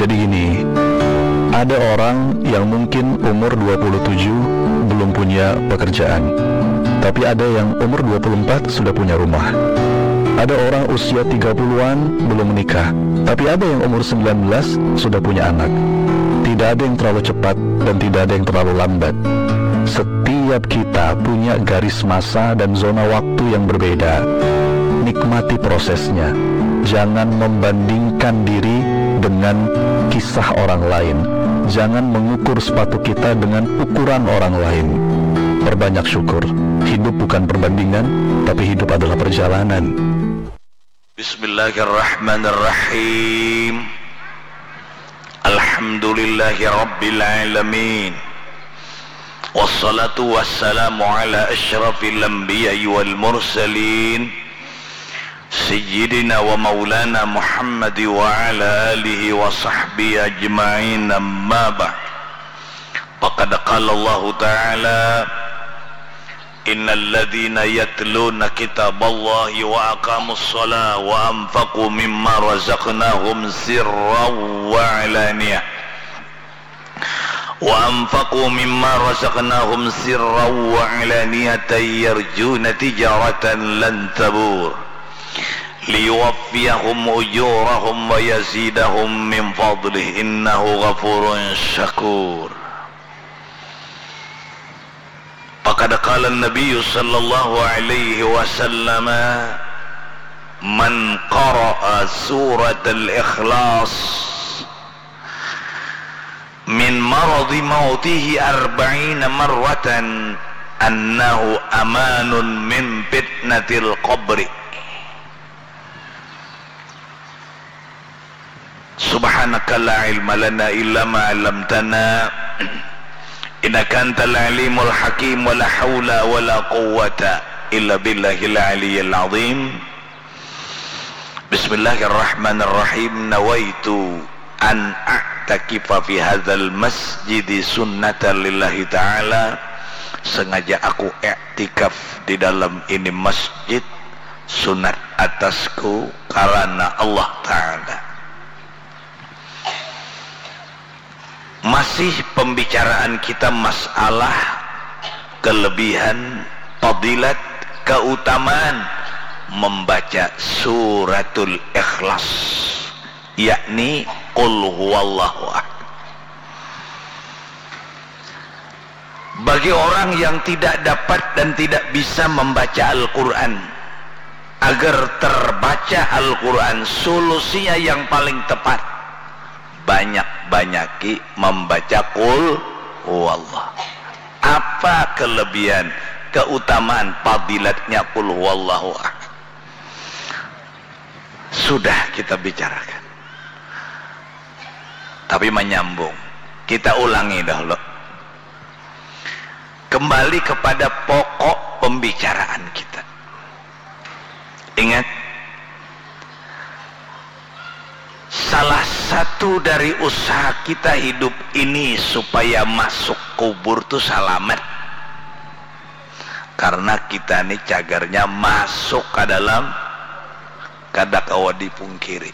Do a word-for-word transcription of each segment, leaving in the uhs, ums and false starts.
Jadi gini, ada orang yang mungkin umur dua puluh tujuh belum punya pekerjaan, tapi ada yang umur dua puluh empat sudah punya rumah. Ada orang usia tiga puluhan belum menikah, tapi ada yang umur sembilan belas sudah punya anak. Tidak ada yang terlalu cepat dan tidak ada yang terlalu lambat. Setiap kita punya garis masa dan zona waktu yang berbeda. Nikmati prosesnya. Jangan membandingkan diri dengan kisah orang lain. Jangan mengukur sepatu kita dengan ukuran orang lain. Perbanyak syukur. Hidup bukan perbandingan, tapi hidup adalah perjalanan. Bismillahirrahmanirrahim. Alhamdulillahirabbil alamin. Wassalatu wassalamu ala asyrafil anbiya'i wal mursalin, sayyidina wa maulana Muhammad wa ala alihi wa sahbihi ajma'in, amma ba'd. Faqad qala Allahu ta'ala, innalladzina yatluna kitaballahi wa aqamus shalah wa anfaqu mimma razaqnahum sirran wa alaniyah. Wa anfaqu mimma razaqnahum sirran wa alaniyatan yarjuna tijaratan lan tabur. Liyuwaffiyahum ujurahum wa yazidahum min fadlih, innahu ghafurun syakur. Faqad qala an-nabiyyu sallallahu alaihi wasallam, man qara'a suratal ikhlas min maradi mautihi arba'ina marratan annahu amanun min fitnatil qabri. Subhanaka la ilma lana illa ma 'allamtana, innaka antal alimul hakim, wa la haula wa la quwwata illa billahil aliyyil azim. Bismillahirrahmanirrahim. Nawaitu an a'takifa fi hadzal masjidi sunnatan lillahi ta'ala. Sengaja aku iktikaf di dalam ini masjid sunat atasku karena Allah Ta'ala. Masih pembicaraan kita masalah kelebihan, fadilat, keutamaan membaca suratul Ikhlas, yakni Qul Huwallahu Ahad. Bagi orang yang tidak dapat dan tidak bisa membaca Al-Quran, agar terbaca Al-Quran, solusinya yang paling tepat, banyak-banyaki membaca Qul Huwallah. Apa kelebihan, keutamaan, fadilatnya Qul Huwallahu Ahad? Sudah kita bicarakan. Tapi menyambung, kita ulangi dahulu. Kembali kepada pokok pembicaraan kita. Ingat, salah satu dari usaha kita hidup ini supaya masuk kubur tu salamat. Karena kita ni cagarnya masuk ka dalam, kada kawa dipungkiri.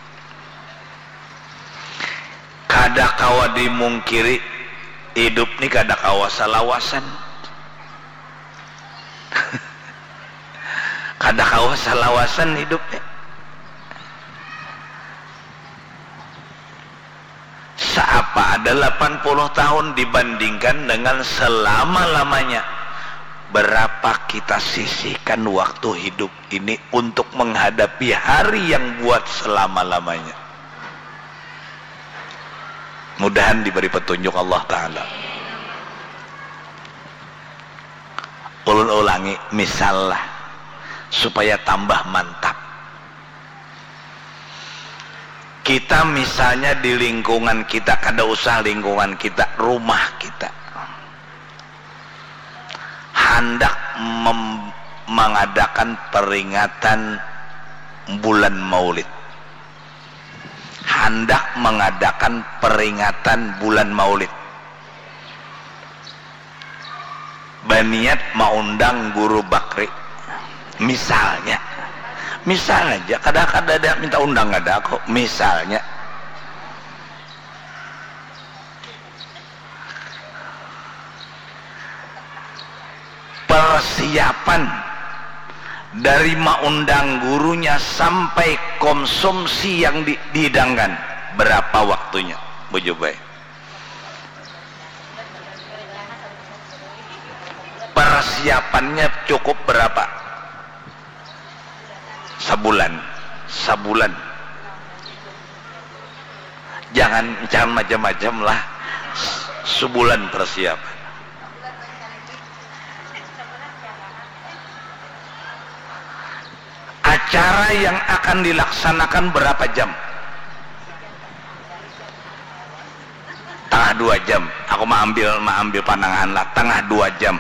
Kada kawa dimungkiri, hidup ni kada kawa salawasan. Kada kawa salawasan hidup ni. Saapa ada lapan puluh tahun dibandingkan dengan selama-lamanya? Berapa kita sisihkan waktu hidup ini untuk menghadapi hari yang buat selama-lamanya? Mudahan diberi petunjuk Allah Ta'ala. Ulun ulangi, misal lah, supaya tambah mantap. Kita misalnya di lingkungan kita, kada usah lingkungan kita, rumah kita, handak mem-, mengadakan peringatan bulan Maulid. Handak mengadakan peringatan bulan Maulid. Baniat maundang Guru Bakri, misalnya. Misal aja, kada, kada ada minta undang, kada kok, misalnya. Persiapan dari maundang gurunya sampai konsumsi yang di, dihidangkan, berapa waktunya? Bujur bae. Persiapannya cukup berapa? Sabulan. Sabulan. Jangan, jangan macam-macam lah. Sabulan persiapan. Acara yang akan dilaksanakan berapa jam? Tangah dua jam. Aku maambil, maambil pandangan lah. Tangah dua jam.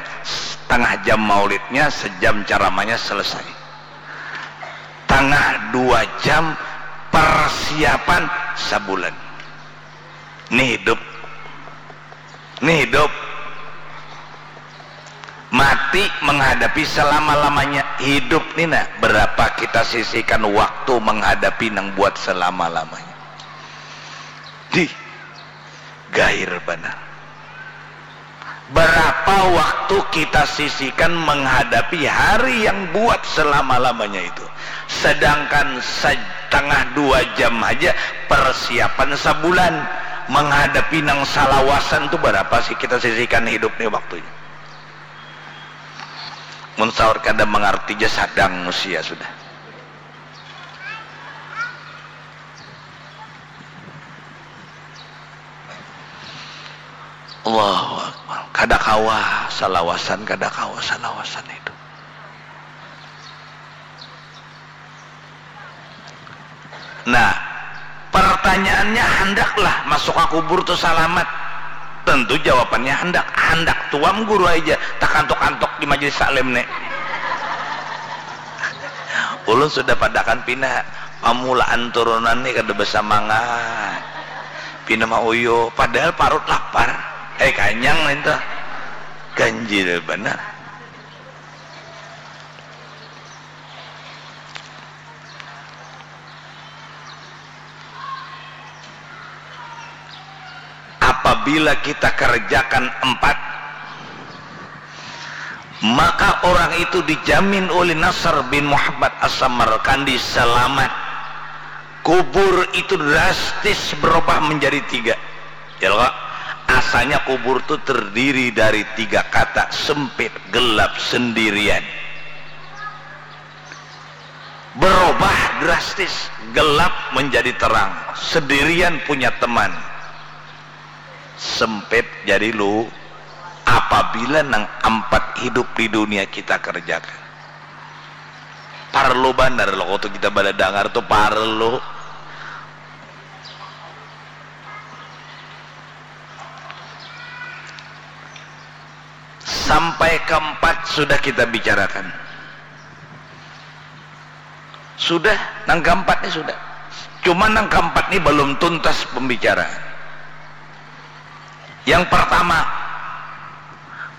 Tangah jam maulidnya, sejam ceramahnya, selesai. Tangah dua jam persiapan sabulan. Ni hidup. Ni hidup. Mati menghadapi selama-lamanya. Hidup ni nah, berapa kita sisihkan waktu menghadapi nang buat selama-lamanya. Dih, gair banar. Berapa waktu kita sisihkan menghadapi hari yang buat selama-lamanya itu? Sedangkan setengah dua jam aja persiapan sabulan menghadapi nang salawasan tu, berapa sih kita sisihkan hidup ni waktunya? Mun saur kada mengerti ja sadang usia sudah. Allahu Akbar. Kada kawa salawasan, kada kawa salawasan itu. Nah, pertanyaannya, handaklah masuk ka kubur tu salamat? Tentu jawabannya handak. Handak tuam guru aja takantuk-kantuk di majelis taklim ni. Ulun sudah padakan pina, pamulaan turunan ni kada basamangat. Pina mauyup, padahal parut lapar. Eh, kanyang nintu. Ganjil banar. Apabila kita kerjakan empat, maka orang itu dijamin oleh Nasr bin Muhammad As-Samarkandi selamat. Kubur itu drastis berubah menjadi tiga. Ya, asalnya kubur itu terdiri dari tiga kata, sempit, gelap, sendirian. Berubah drastis, gelap menjadi terang, sendirian punya teman, sempit jadi lu. Apabila nang empat hidup di dunia kita kerjakan, parlu banar loh waktu kita bala dangar tuh, parlu. Sampai keempat sudah kita bicarakan. Sudah, nang keempat ni sudah. Cuma nang keempat ni belum tuntas pembicaraan. Yang pertama,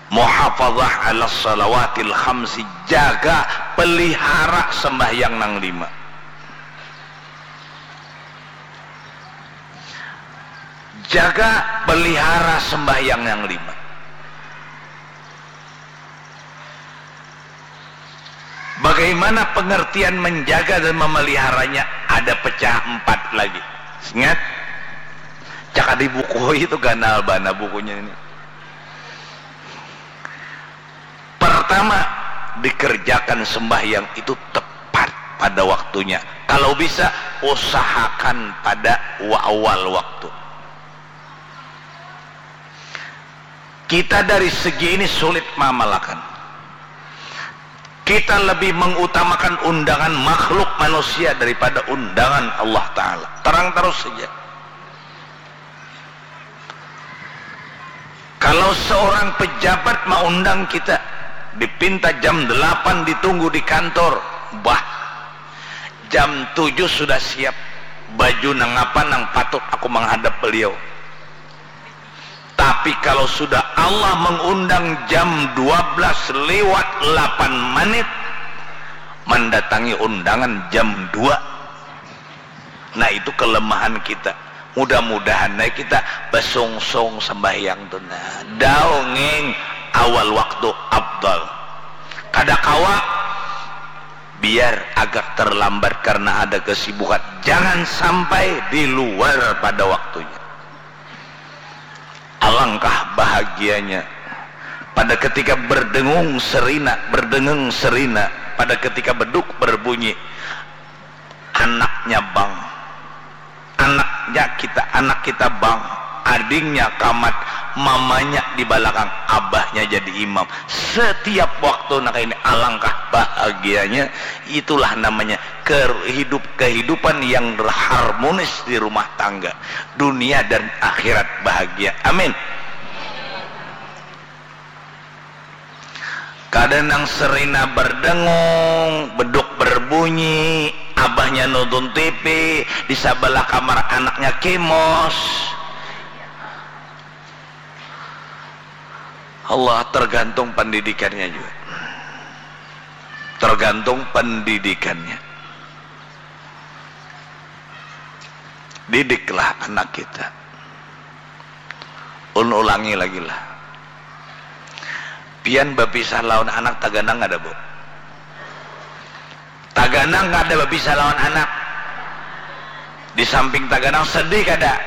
muhafazah ala salawatil khamsi, jaga, pelihara sembahyang nang lima. Jaga, pelihara sembahyang yang lima. Bagaimana pengertian menjaga dan memeliharanya? Ada pecah empat lagi. Ingat? Cakap di buku itu ganal bana bukunya ini. Pertama, dikerjakan sembahyang itu tepat pada waktunya. Kalau bisa, usahakan pada wa-, awal waktu. Kita dari segi ini sulit mamalakan. Kita lebih mengutamakan undangan makhluk manusia daripada undangan Allah Ta'ala. Terang terus saja. Kalau seorang pejabat maundang kita, dipinta jam delapan ditunggu di kantor, bah, jam tujuh sudah siap, baju nang apa nang patut aku menghadap beliau. Tapi kalau sudah Allah mengundang jam dua belas lewat delapan menit, mendatangi undangan jam dua. Nah, itu kelemahan kita. Mudah-mudahan nah kita basungsung sembahyang tu nah. Dongeng awal waktu afdal. Kada kawa, biar agak terlambat karena ada kesibukan. Jangan sampai di luar pada waktunya. Alangkah bahagianya pada ketika berdengung serina, berdengeng serina, pada ketika beduk berbunyi, anaknya bang, anaknya kita, anak kita bang, adingnya kamat, mamanya di balakang, abahnya jadi imam. Setiap waktu nak ini, alangkah bahagianya. Itulah namanya ker-, hidup, kehidupan yang harmonis di rumah tangga. Dunia dan akhirat bahagia. Amin. Kada nang serina berdengung, beduk berbunyi, abahnya nonton T V, di sabalah kamar anaknya kemos. Allah, tergantung pendidikannya juga. Tergantung pendidikannya. Didiklah anak kita. Ulun ulangi lagi lah. Pian bapisah lawan anak taganang kada, Bu? Taganang kada bapisah lawan anak? Di samping taganang, sedih kada?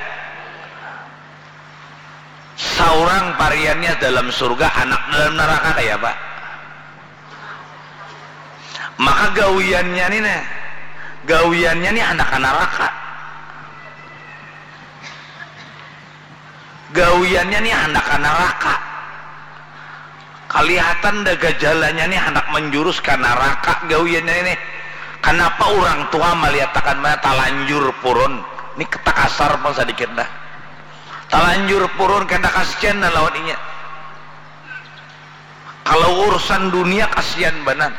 Saurang pariannya dalam surga, anak dalam neraka, kaya apa? Maka gawiannya ni nah, gawiannya ni handak ka naraka. Gawiannya ni handak ka naraka. Kalihatan dah gajalanya ni handak menjurus ka naraka gawiannya ni. Kanapa urang tua maliatakan mana talanjur purun? Ni kata kasar pang sadikit dah. Talanjur purun, kada kasian dah lawan inya. Kalau urusan dunia, kasian banar.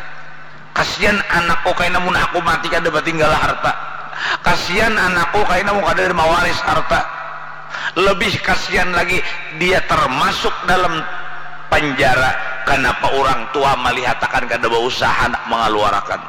Kasian anakku, kaina mun aku mati kada batinggal harta. Kasian anakku, kaina mun kada mawaris harta. Lebih kasian lagi, dia termasuk dalam penjara. Kanapa urang tua malihatakan kada bausaha nak mangaluarakan?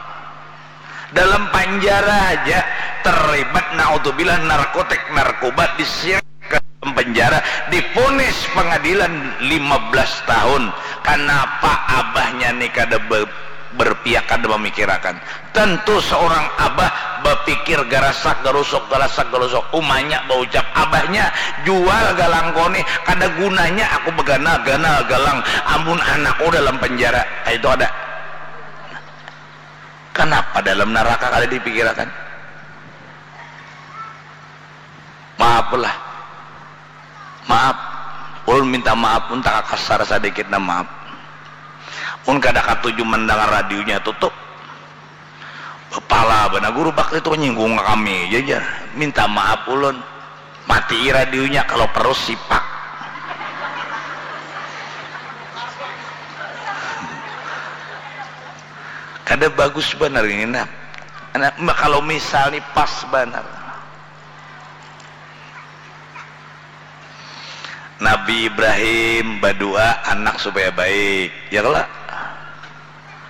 Dalam panjara haja terlibat, naudzubillah, narkotik, narkoba, disiram ka dalam penjara, dipunis pengadilan lima belas tahun. Kanapa abahnya ni kada be-, berpihak, kada memikirakan? Tentu seorang abah bapikir garasak garusuk, garasak garusuk. Umanya baucap, "Abahnya, jual galang ko nih, kada gunanya aku beganal-ganal galang amun anakku dalam penjara." Itu ada. Kanapa dalam naraka kada dipikirakan? Maaf lah. Maaf. Ulun minta maaf, mun takakasar sadikit nah, maaf. Mun kada katuju mandangar radionya, tutup. Bapala banar guru bakti tu, nyinggung kami ja, jar. Minta maaf ulun. Matii radionya, kalau perlu sipak. Kada bagus banar ini, nah. Nah, ma-, kalau misal ni pas banar. Nabi Ibrahim badua anak supaya baik, ya kalo?